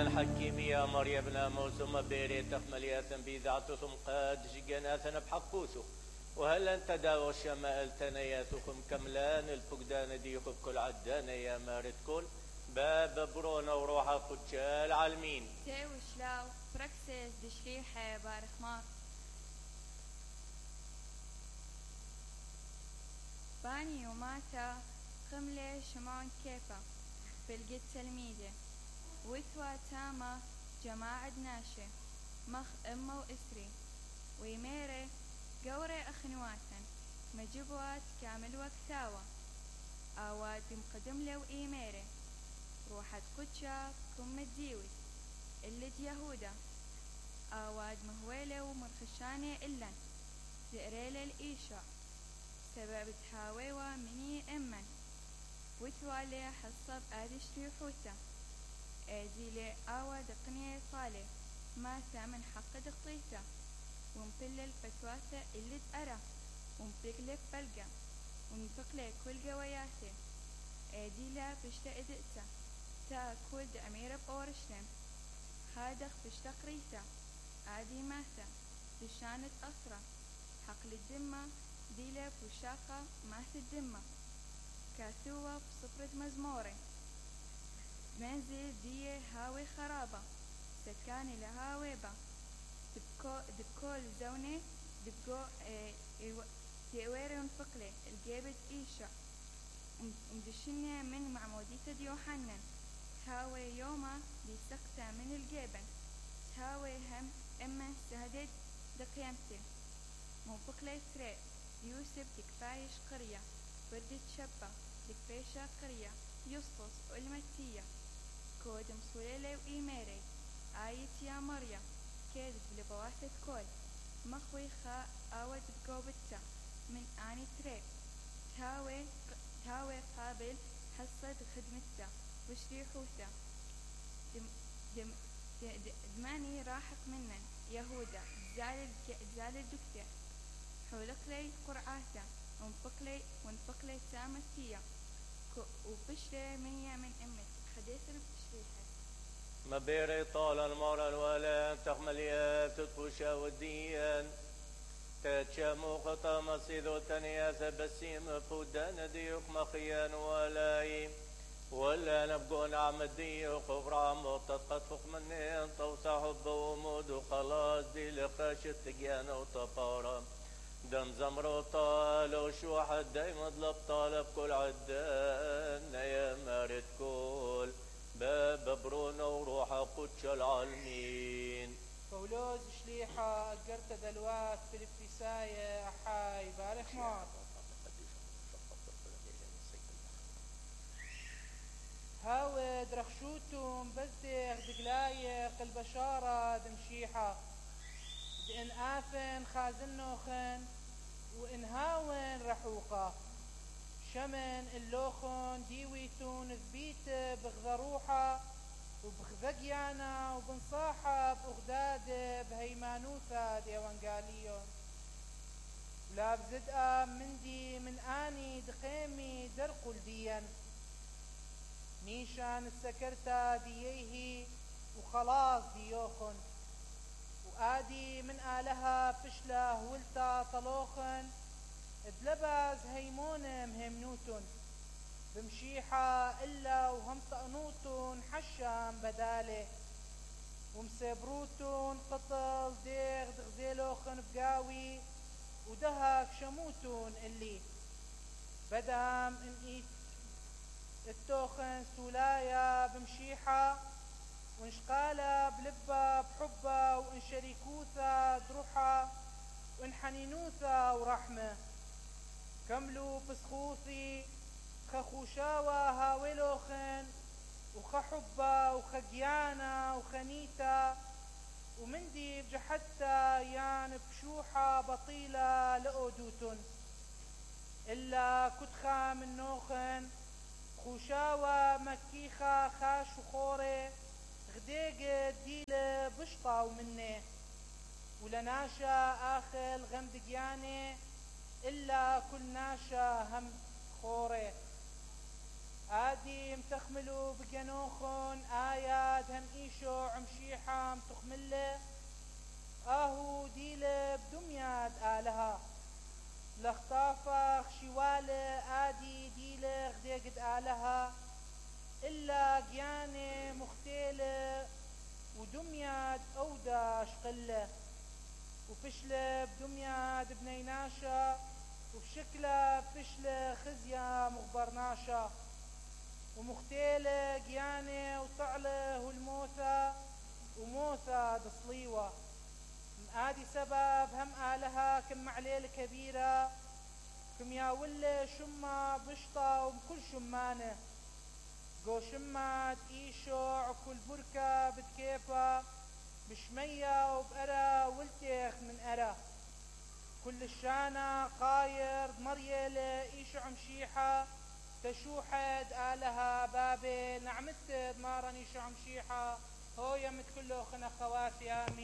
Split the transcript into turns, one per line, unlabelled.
الحكيم يا مريم ناموس ما بيري تخمل يا بيذات ثم قد جناثنا بحقوسو وهل انت داو الشمائل تنياثكم كملان الفقدان ديخ بكل عدان يا مارد كل باب برونا وروحا قدشال عالمين
تاو شلاو براكسيس دشليحة بارخمار باني وماتا قملة شمعون كيفا بالقد تلميذة وثوى تاما جماعة ناشة مخ أمه وإسري ويميري قوري أخنواتا مجبوات كامل وكثاوة آوات مقدم له وإيميري روحت قدشا كم الديوت اللي يهودا آواد مهويلة ومرخشانة إلا زئريلة الإيشاء سبب تحاويوة مني إمن وثوالي حصب آدش ريحوتا آديلي آوى دقنية طالي ما ثامن حق دقيتا ومبلل فتواتا اللي تأرى ومبقلب بلقى ومبقلي كل قوياتي آديلا بشتا إدئتا تا كود أميرة بأورشلم هادخ بشتا قريتا آدي ماتا بشانت أسرة حقل الدمة ديلا بوشاقة مات الدمة كاثوة بصفرة مزموري منزل دي هاوي خرابة سكاني لهاويبة دبكول زوني دبكو تيويري ونفقلي الجيبت إيشا ومدشني من معمودية يوحنا تهاوي يوما لسقطة من الجبل تهاوي هم إما سهدد دقيمتي منفقلي تري يوسف دكفايش قرية بردت شبة دكفيشة قرية يسطس والمتية كود مصوليلي وإيميري آية يا مريم كيدت بلبواتة كل مخوي خاء آود بقوبتا من آني تري تهاوي قابل حصد خدمتا وشريحوتا دماني راحق منن يهودا زال الدكتة حولق لي قرعاتا ونفقلي تامتية وبشري من أمت حديثنا بتشريحة
ما بيري طال المرة الولا تخمليات تطوشا وديان تاتشامو خطا مصيدو تنياس بسيم فودان ديوك مخيان ولاي ولا نبقون عم الديوك وفرام وتطقط فوق منين توسع حب ومود وخلاص دي لخاشت تقيان وطفارة دم زمرو طال وشو حد دايما طلب طالب كل عدان يا مارد كل باب برونا وروحا قدش العالمين
بولوز شليحة أقرت دلوات في الابتساية أحاي بارخ مار هاود رخشوتم بزدغ دقلايق البشارة دمشيحة دإن آفن خازنوخن وإن هاون رحوقة شمن اللوخن ديويتون ذبيت بغذروحة وبغذقيانا وبنصاحة بأغداد بهيمانوثة ديوانقاليون ولا بزدقة مندي من آني دقيمي درقل ديا نيشان السكرتا دييه وخلاص ديوخن وآدي من آلها فشله ولتا طلوخن دلباز هيمون مهمنوتن بمشيحة إلا وهم طقنوتن حشام بداله ومسبروتن قطل ديغ دغزيلوخن بقاوي ودهك شموتن اللي بدام إن التوخن سولايا بمشيحة وانشقالة بلبة بحبة وان شريكوثة دروحة وان حنينوثة ورحمة كملوا بسخوثي خخوشاوة هاولوخن وخحبة وخقيانة وخنيتة ومندي بجحتة يان بشوحة بطيلة لأودوتن إلا كتخا من نوخن خوشاوة مكيخة خاش وخوري غديق ديلة بشطة ومنه ولناشا آخل غمدقياني إلا كل ناشا هم خوري آدي متخملوا بجنوخن آيات هم إيشو عمشيحة متخملة آهو ديلة بدمياد آلها لخطافخ شوالة آدي ديلة غديقد آلها إلا قيانة مختيلة ودمياد أوداش قلة وفشلة بدمياد بنيناشا وبشكلة فشلة خزية مخبرناشا ومختيلة قيانة وطعلة والموثى وموثى دصليوة آدي سبب هم آلها كم عليل كبيرة كم ياولة شمة بشطة وبكل شمانة قو شمات إيشوع كل بركة بتكيفة بشمية وبأرى ولتيخ من أرى كل الشانة قاير مريلة إيشوع مشيحة تشوحد آلها بابل نعمت مارا إيشوع مشيحة هو يمت كله خنا خواتي آمين.